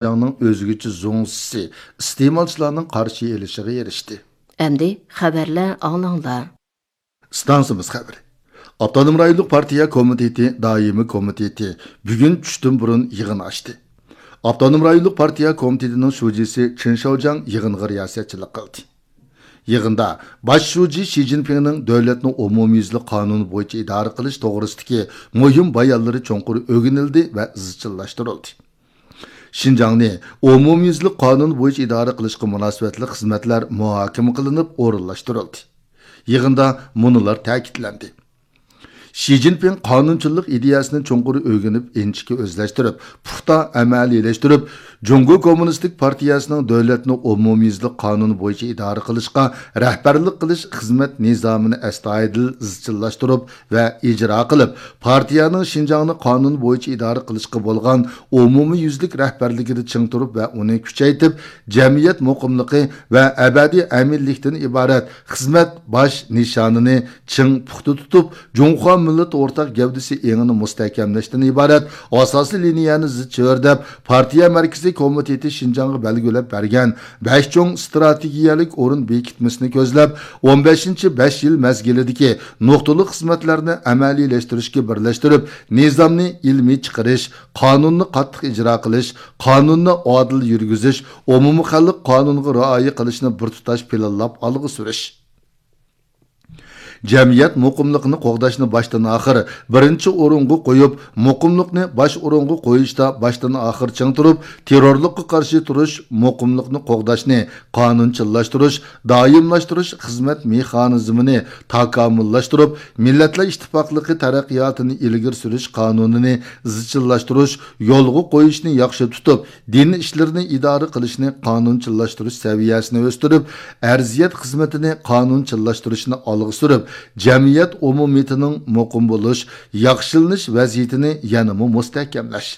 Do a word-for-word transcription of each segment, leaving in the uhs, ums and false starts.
شىنجاڭنىڭ ئۆزگىچە زۇڭزىسى ئىستېمالچىلارنىڭ قارشى ئېلىشىغا ئېرىشتى. ئەمدى خەۋەرلەر ئاڭلاڭلار. ئىستانسىمىز خەۋىرى. ئاپتونوم رايونلۇق پارتىيە كومىتېتى دائىمىي كومىتېتى بۈگۈن چۈشتىن بۇرۇن يىغىن ئاچتى. ئاپتونوم رايونلۇق پارتىيە كومىتېتىنىڭ شۇجىسى چېن شياۋجياڭ يىغىنغا رىياسەتچىلىك قىلدى. يىغىندا باش شۇجى شى جىنپىڭنىڭ دۆلەتنى ئومۇميۈزلۈك قانۇن بويىچە ئىدارە قىلىش توغرىسىدىكى مۇھىم بايانلىرى چوڭقۇر ئۆگىنىلدى ۋە ئىزچىللاشتۇرۇلدى. شىنجاڭنى ئومۇميۈزلۈك قانۇن بويىچە ئىدارە قىلىشقا مۇناسىۋەتلىك خىزمەتلەر مۇھاكىمە قىلىنىپ ئورۇنلاشتۇرۇلدى. يىغىندا مۇنۇلار تەكىتلەندى. شى جىنپىڭ قانۇنچىللىق ئىدىيەسىنى چوڭقۇر ئۆگىنىپ، ئىنچىكە ئۆزلەشتۈرۈپ، پۇختا ئەمەلىيلەشتۈرۈپ، جۇڭگو كوممۇنىستىك پارتىيەسىنىڭ دۆلەتنى ئومۇميۈزلۈك قانۇن بويىچە ئىدارە قىلىشقا رەھبەرلىك قىلىش خىزمەت نىزامىنى ئەستايىدىل ئىزچىللاشتۇرۇپ ۋە ئىجرا قىلىپ، پارتىيەنىڭ شىنجاڭنى قانۇن بويىچە ئىدارە قىلىشقا بولغان ئومۇميۈزلۈك رەھبەرلىكىدە چىڭ تۇرۇپ ۋە ئۇنى كۈچەيتىپ، جەمئىيەت مۇقىملىقى ۋە ئەبەدىي ئەمىنلىكتىن ئىبارەت خىزمەت باش نىشانىنى چىڭ پۇختا تۇتۇپ، جۇڭخۇا مىللىتى ئورتاق گەۋدىسى ئېڭىنى مۇستەھكەملەشتىن ئىبارەت ئاساسىي لىنىيەنى زىچ چۆرىدەپ، پارتىيە مەركىزىي كومىتېتى شىنجاڭغا بەلگىلەپ بەرگەن بەش چوڭ ئىستراتېگىيەلىك ئورۇن بېكىتمىسىنى كۆزلەپ، ئون بەشىنچى بەش يىل مەزگىلىدىكى نۇقتىلىق خىزمەتلەرنى ئەمەلىيلەشتۈرۈشكە بىرلەشتۈرۈپ، نىزامنى ئىلمىي چىقىرىش، قانۇننى قاتتىق ئىجرا قىلىش، قانۇننى ئادىل يۈرگۈزۈش، ئومۇمىي خەلق قانۇنغا رىئايە قىلىشنى بىر تۇتاش پىلانلاپ ئالغا سۈرۈش. جەمئىيەت مۇقىملىقىنى قوغداشنى باشتىن ئاخىر بىرىنچى ئورۇنغا قويۇپ، مۇقىملىقنى باش ئورۇنغا قويۇشتا باشتىن ئاخىر چىڭ تۇرۇپ، تېررورلۇققا قارشى تۇرۇش، مۇقىملىقنى قوغداشنى قانۇنچىللاشتۇرۇش، دائىملاشتۇرۇش خىزمەت مېخانىزمىنى تاكامۇللاشتۇرۇپ، مىللەتلەر ئىتتىپاقلىقى تەرەققىياتىنى ئىلگىرى سۈرۈش قانۇنىنى ئىزچىللاشتۇرۇش، يولغا قويۇشنى ياخشى تۇتۇپ، دىن ئىشلىرىنى ئىدارە قىلىشنى قانۇنچىللاشتۇرۇش سەۋىيەسىنى ئۆستۈرۈپ، ئەرزىيەت خىزمىتىنى قانۇنچىللاشتۇرۇشنى ئالغا سۈرۈپ، جەمئىيەت ئومۇمىيىتىنىڭ مۇقىم بولۇش، ياخشىلىنىش ۋەزىيىتىنى يەنىمۇ مۇستەھكەملەش.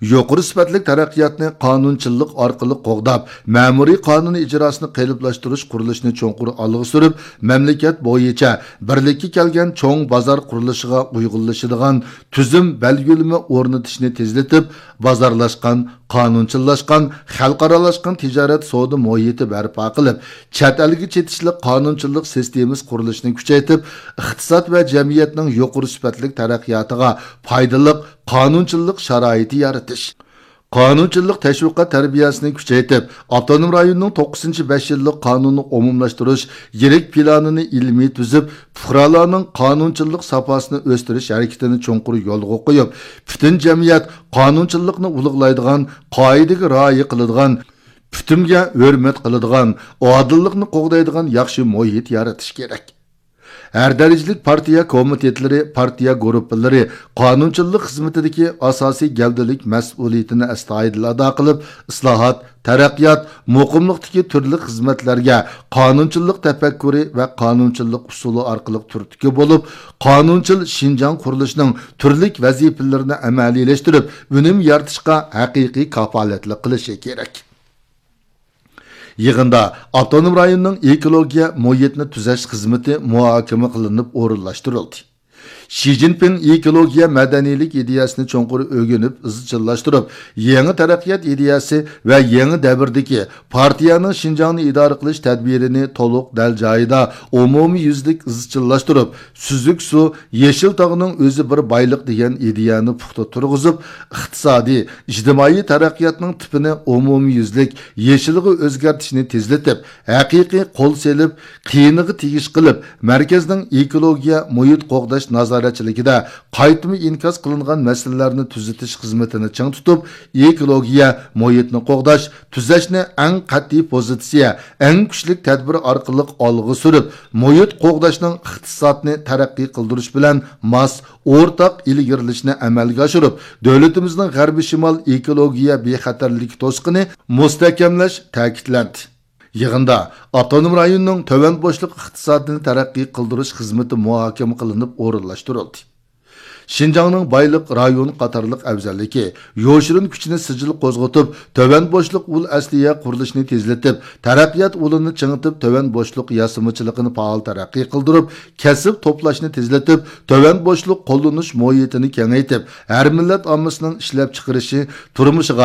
يۇقىرى سۈپەتلىك تەرەققىياتنى قانۇنچىللىق ئارقىلىق قوغداپ، مەمۇرىي قانۇن ئىجراسىنى قېلىپلاشتۇرۇش قۇرۇلۇشىنى چوڭقۇر ئالغا سۈرۈپ، مەملىكەت بويىچە بىرلىككە كەلگەن چوڭ بازار قۇرۇلۇشىغا ئۇيغۇنلىشىدىغان تۈزۈم بەلگىلىمە ئورنىتىشنى تېزلىتىپ، بازارلاشقان، قانۇنچىللاشقان، خەلقئارالاشقان تىجارەت سودا مۇھىتى بەرپا قىلىپ، چەت ئەلگە چېتىشلىق قانۇنچىللىق سىستېمىسى قۇرۇلۇشىنى كۈچەيتىپ، ئىقتىساد ۋە جەمئىيەتنىڭ يۇقىرى سۈپەتلىك تەرەققىياتىغا پايدىلىق قانۇنچىللىق شارائىتى يارىتىش. قانۇنچىللىق تەشۋىقات تەربىيەسىنى كۈچەيتىپ، ئاپتونوم رايوننىڭ توققۇزىنچى بەش يىللىق قانۇننى ئومۇملاشتۇرۇش يىرىك پىلانىنى ئىلمىي تۈزۈپ، پۇقرالارنىڭ قانۇنچىللىق ساپاسىنى ئۆستۈرۈش ھەرىكىتىنى چوڭقۇر يولغا قويۇپ، پۈتۈن جەمئىيەت قانۇنچىللىقنى ئۇلۇغلايدىغان، قائىدىگە رىئايە قىلىدىغان، پۈتۈنگە ھۆرمەت قىلىدىغان، ئادىللىقنى قوغدايدىغان ياخشى مۇھىت يارىتىش كېرەك. ھەر دەرىجىلىك پارتىيە كومىتېتلىرى، پارتىيە گۇرۇپپىلىرى قانۇنچىللىق خىزمىتىدىكى ئاساسىي گەۋدىلىك مەسئۇلىيىتىنى ئەستايىدىل ئادا قىلىپ، ئىسلاھات، تەرەققىيات، مۇقىملىقتىكى تۈرلۈك خىزمەتلەرگە قانۇنچىللىق تەپەككۇرى ۋە قانۇنچىلىق ئۇسۇلى ئارقىلىق تۈرتكە بولۇپ، قانۇنچىل شىنجاڭ قۇرۇلۇشىنىڭ تۈرلۈك ۋەزىپىلىرىنى ئەمەلىيلەشتۈرۈپ، ئۈنۈم يارىتىشقا ھەقىقىي كاپالەتلىك قىلىشى كېرەك. يىغىندا ئاپتونوم رايوننىڭ ئېكولوگىيە مۇھىتنى تۈزەش خىزمىتى مۇھاكىمە قىلىنىپ ئورۇنلاشتۇرۇلدى. شى جىنپىڭ ئېكولوگىيە مەدەنىيلىك ئىدىيەسىنى چوڭقۇر ئۆگىنىپ ئىزچىللاشتۇرۇپ، يېڭى تەرەققىيات ئىدىيەسى ۋە يېڭى دەۋردىكى پارتىيەنىڭ شىنجاڭنى ئىدارە قىلىش تەدبىرىنى تولۇق دەل جايىدا ئومۇميۈزلۈك ئىزچىللاشتۇرۇپ، سۈزۈك سۇ، يېشىل تاغنىڭ ئۆزى بىر بايلىق دېگەن ئىدىيەنى پۇختا تۇرغۇزۇپ، ئىقتىسادىي، ئىجتىمائىي تەرەققىياتنىڭ تىپىنى ئومۇميۈزلۈك يېشىلغا ئۆزگەرتىشنى تېزلىتىپ، ھەقىقىي قول سېلىپ، قىيىنىغا تېگىش قىلىپ، مەركەزنىڭ ئېكولوگىيە مۇھىت قوغداش نازارەتچىلىكىدە قايتما ئىنكاس قىلىنغان مەسىلىلەرنى تۈزىتىش خىزمىتىنى چىڭ تۇتۇپ، ئېكولوگىيە مۇھىتنى قوغداش، تۈزەشنى ئەڭ قەتئىي پوزىتسىيە، ئەڭ كۈچلۈك تەدبىر ئارقىلىق ئالغا سۈرۈپ، مۇھىت قوغداشنىڭ ئىقتىسادنى تەرەققىي قىلدۇرۇش بىلەن ماس، ئورتاق ئىلگىرىلىشىنى ئەمەلگە ئاشۇرۇپ، دۆلىتىمىزنىڭ غەربىي شىمال ئېكولوگىيە بىخەتەرلىكى توسۇقىنى مۇستەھكەملەش تەكىتلەندى. يىغىندا ئاپتونوم رايوننىڭ تۆۋەن بوشلۇق ئىقتىسادىنى تەرەققىي قىلدۇرۇش خىزمىتى مۇھاكىمە قىلىنىپ ئورۇنلاشتۇرۇلدى. شىنجاڭنىڭ بايلىق رايون قاتارلىق ئەۋزەللىكى، يوشۇرۇن كۈچىنى سىجىل قوزغىتىپ، تۆۋەن بوشلۇق ئۇل ئەسلىھە قۇرۇلۇشىنى تېزلىتىپ، تەرەققىيات ئۇلىنى چىڭىتىپ، تۆۋەن بوشلۇق ياسىمىچىلىقىنى پائال تەرەققىي قىلدۇرۇپ، كەسىپ توپلاشنى تېزلىتىپ، تۆۋەن بوشلۇق قوللىنىش مۇھىتىنى كېڭەيتىپ، ھەر مىللەت ئاممىسىنىڭ ئىشلەپچىقىرىشى، تۇرمۇشىغا